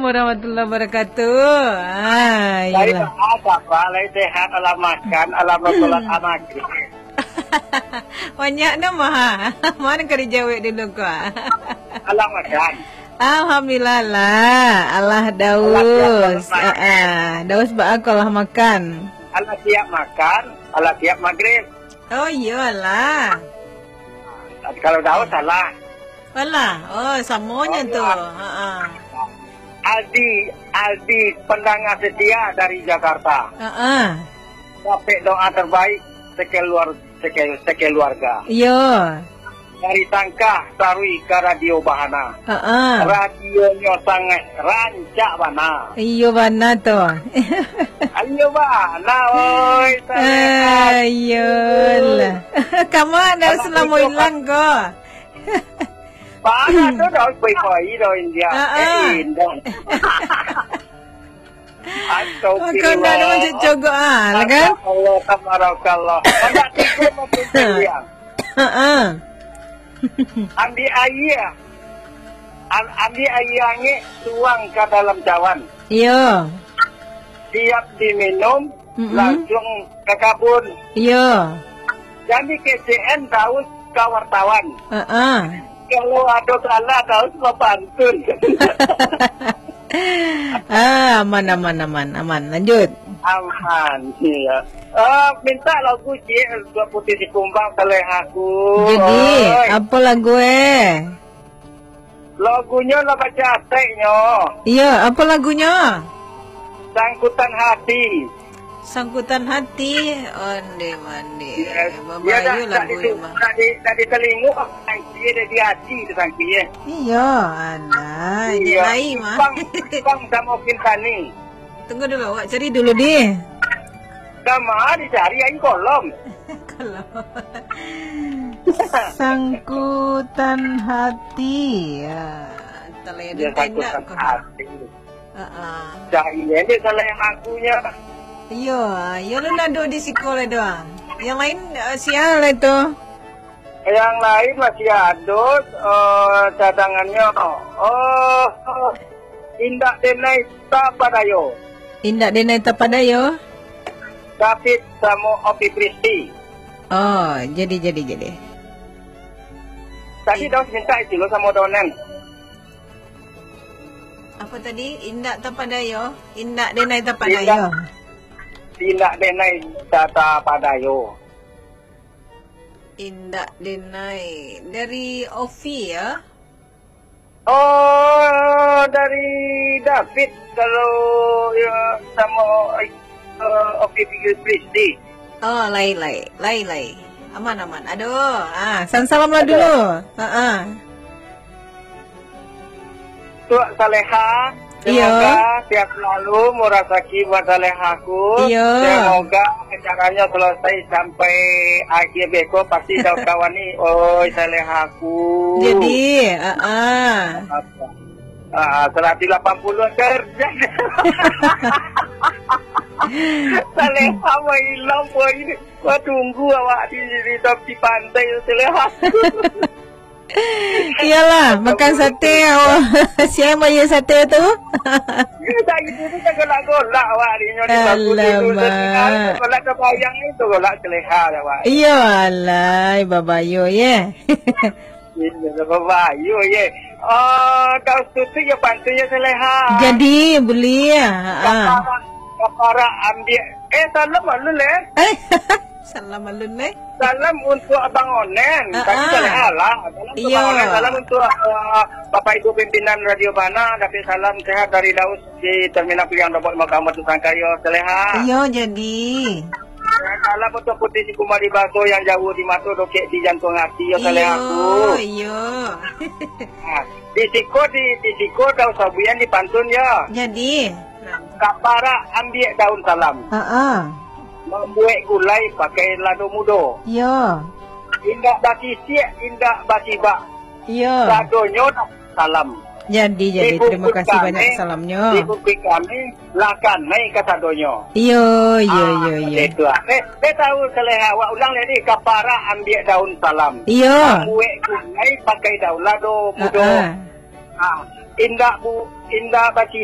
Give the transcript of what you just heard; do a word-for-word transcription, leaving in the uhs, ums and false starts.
Warahmatullahi wabarakatuh. Ah, Lai iyalah. Bahat apa? Lai sehat, alah makan, alah basolat maghrib. Banyak nama, ha? Mana ka dijawek dulu ko, ha? Alah makan. Alhamdulillah lah. Alah daus. Alah siap makan. Ah, ah. Daus baa ko alah makan. Alah siap makan, alah siap maghrib. Oh, iyolah. Kalau daus, salah. Alah, oh, samonyo tu. Alah. Ha, ha. Aldi, Aldi, pendengar setia dari Jakarta. Ha, ha. Dapek doa terbaik sekeluar-, seke-, sekeluarga. Iyo. Dari Tangkah Sarui ka Radio Bahana. Ha, ha. Radionyo sangat rancak bana. Iyo bana tu. Iyo bana, oi, Saleha. Ah, iyolah. Kama dah selamo ilang ko. Bana tu dah pai-pai dah India. Ha, ha. Eh, indah. Astagfirullah. Makan dah ada macam cogok, ah, lah kan? Masya Allah, tabarakallah. Banyak tipu makin sayang. Ha, ha. Ambil aia. Am-, ambil aia angek, tuang ka dalam cawan. Iyo. Siap diminum, mm-mm, langsung ka kabun. Iyo. Jadi kecek an daus ka wartawan. Ha, ha. Kalau ado salah, daus bapantun. Ah, aman, aman, aman, aman. Lanjut. Aman, iyo. Ah, minta lagu ciek untuak Puti Sikumbang, Saleha ku. Jadi, oi, apo lagu, eh? Lagunyo lah bacateknyo. Iyo, apo lagunyo? Sangkutan Hati. Sangkutan Hati, onde mande. Iyo, iyo, babayu dah, lagu dah di, dah di, dah di telingo, sangki, dah di hati tu sangki, eh. Iyo, alah, iyo. Lai mah. Bang, Bang samo Kintani. Tunggu dulu, awak cari dulu, di. Kama dicari aia kolom. Kolom. Sangkutan Hati. Ya, talayan. Iyo, tenda sangkutan ko. Hati. Ha, ha. Cari ni salah yang lagunyo. Iyo, iyo lah nado di siko lah doh. Yang lain, eh, sia lah tu. Yang lain masih ado, eh, cadangannyo. Oh, Indak Denai Tapadayo. Indak Denai Tapadayo? David samo Opi Pristi. Oh, jadi, jadi, jadi. Tadi I- Daus minta itu lo samo Donen. Apa tadi? Indak Tapadayo? Indak Denai Tapadayo? Indak, Indak Denai Tapadayo. Indak Denai. Dari Ovi, ya? Oh, dari David, kalau, ya, samo, eh, Ovi Pristi. Oh, lai, lai. Lai, lai. Aman, aman. Aduh, ah, salam-salam lah dulu. Ha, ha. Tuak Saleha, iyo, semoga sehat selalu, murah rasaki buat Saleha ku. Iyo. Semoga acaranyo selesai sampai akhir beko, pasti Daus kawan ni, oi Saleha ku. Jadi, ah, ah. Ah, seratus lapan puluh kerja. Saleha mah ilang, boy. Wah, tunggu awak di, di tepi pantai tu, Saleha. Iyalah, makan sate, awak. Sia bayar sate tu? Dari dulu kan golak-golak awak ni, nyo di bangku dulu. Alamak. Golak tabayang ni tu, golak Saleha awak. Iyo, alai, babayo, ye. Iyo, babayo, ye. Ah, Daus tutuik yo pantun yo, Saleha. Jadi, buliah. Ha. Kaparak, kaparak ambiak. Eh, salam alun, eh. Eh, salam alun, eh. Salam untuk Abang Onen. Ha, tapi ah. Saleha lah. Salam untuk Abang Onen. Salam untuk, ah, Bapak Ibu pimpinan Radio Bana. Dapat salam sehat dari Daus di Terminal Piliang Dobok Lima Kamar Tusangkayo, Saleha. Iyo, jadi. Salam untuk Puti Sikumbang di baso, yang jauah di mato, dokek di jantuang hati, yo, Saleha ku. Iyo, iyo. Ah, di siko, di, di siko Daus sabuikan di pantun, yo. Jadi. Kaparak ambiak daun salam. Ha, ha. Mambuek gulai pakai lado mudo. Iyo. Indak bakisiak, indak basibak. Iyo. Sadonyo dah salam. Jadi, jadi. Terima kasih banyak salamnyo. Di bungkuih kami, lah kanai kasadonyo. Iyo, iyo, iyo, iyo. Ah, itu ah. Eh, eh, tahu Saleha, awak ulang tadi, kaparak ambiak daun salam. Iyo. Mambuek gulai pakai daun lado mudo. Ha, ha. Ah, indak bu-, indak basi-,